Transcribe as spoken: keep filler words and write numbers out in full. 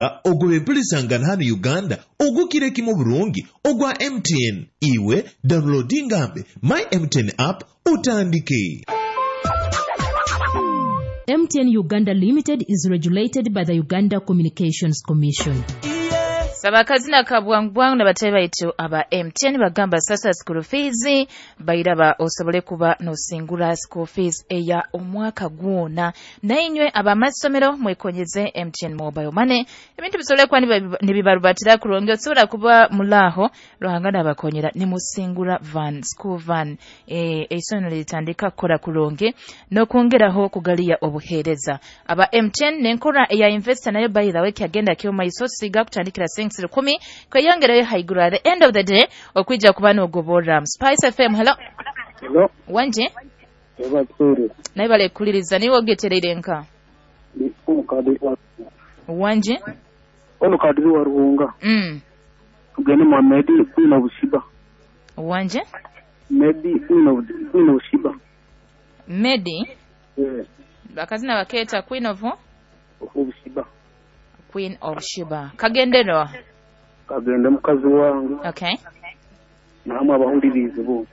Ogwo empulisangana hano Uganda ogukira kimu burungi ogwa M T N. Iwe downloadingambe My M T N app utandike. M T N Uganda Limited is regulated by the Uganda Communications Commission. Saba akazina ka bwangu bwangu n'abatayi baitu aba M T N bagamba sasa school fees bairaba osobole kuba nosingura school fees eya omwaka gwona. Nainywe abamasomero mwekonyeze M T N Mobile Money, ebintu bisobole kuba nibibarubatira kurungi. Osobola kuba mulaho Ruhanga nabakonyera nimusingura van, school van. e, eisomero litandika kukora kurungi n'okwongeraho kugaliya obuheereza aba M T N n'enkora eya investor nayo by the way kyagenda kyomaiso siga kutandikira sinks rukumi kweyongerayo haiguru. At the end of the day okwija kuba nogoborra. Spice F M, hello. Hello. Wanje. Ebatwere. Naye balekuliriza niwe ogetereire nka Ni omukadiri wa wanje. Omukadiri wa Ruhunga. mm. Tugende mu Medi Queen of Sheba. Wanje. Medi Queen of Queen of Sheba. Medi. Eh, bakazina bakeeta Queen of of Sheba. Queen of Sheba kagenderwa. Kagende mukazi wange okay namwe abahulirizi bo.